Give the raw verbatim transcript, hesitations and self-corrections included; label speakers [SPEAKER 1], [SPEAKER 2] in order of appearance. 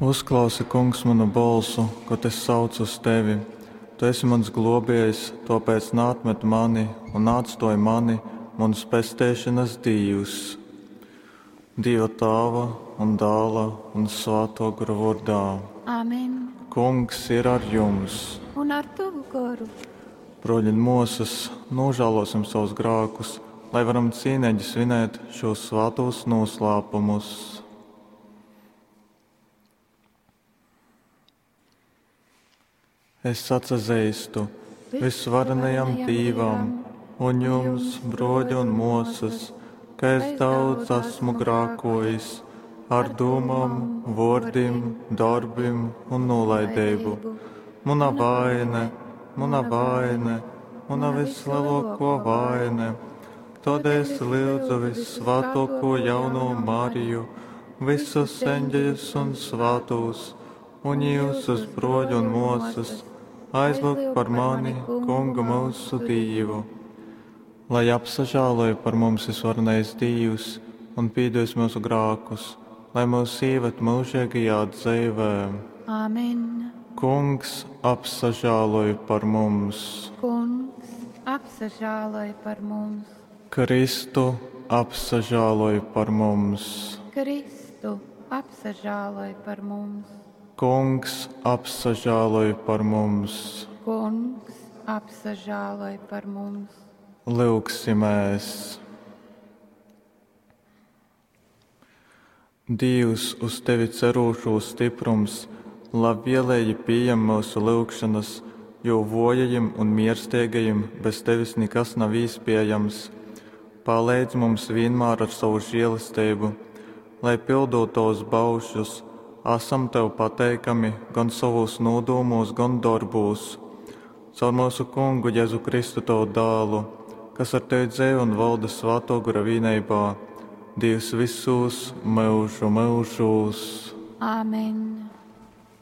[SPEAKER 1] Uzklausi, Kungs, manu bolsu, kod es saucu uz tevi. Tu esi mans globiejs, tōpēc naatmet mani un naatstōj mani, muns pesteišonas Dīvs. Dīva Tāva un Dāla un Svātō Gora vōrdā.
[SPEAKER 2] Amen.
[SPEAKER 1] Kungs ir ar jums.
[SPEAKER 2] Un ar tavu goru.
[SPEAKER 1] Broļi un mosas, nožēlosim savus grākus, lai varam cīnīgi svinēt šos svātos noslēpumus. Es atsazīstu visvarenajam Dīvam un jums, broļi un mosas, ka es daudz esmu grākojis ar dūmām, vōrdim, darbim un nolaidību. Mana vaine, mana vaine, mana vislielāko vaine. Tādēļ es lūdzu vissvētāko jauno Mariju, visus eņģeļus un svētos, un jūsus broļu un mosas, aizlūgt par mani, Kungu mūsu Dievu. Lai apsažāloja par mums visvarenais Dievs un pīdos mūsu grākus, lai mūs ieved mūžīgajā dzīvē.
[SPEAKER 2] Amen.
[SPEAKER 1] Kungs apsažāloja par mums.
[SPEAKER 2] Kungs apsažāloja par mums.
[SPEAKER 1] Kristu apsažāloja par mums.
[SPEAKER 2] Kristu apsažāloja par mums.
[SPEAKER 1] Kungs apsažāloja par mums.
[SPEAKER 2] Kungs apsažāloja par mums.
[SPEAKER 1] Lūgsimies! Dievs, uz tevi cerūšo stiprums, labvēlīgi pieņem mūsu lūgšanas, jo vojajiem un miersteigajiem bez tevis nekas nav iespējams. Palīdz mums vienmēr ar savu žēlastību, lai pildot tavus baušļus, esam tev pateikami gan savos nodūmos, gan darbūs. Caur mūsu kungu Jēzu Kristu tavu dālu, kas ar tevi dzīvo un valda Svēto Gara vienībā, Dievs visos mūžu mūžos.
[SPEAKER 2] Āmen.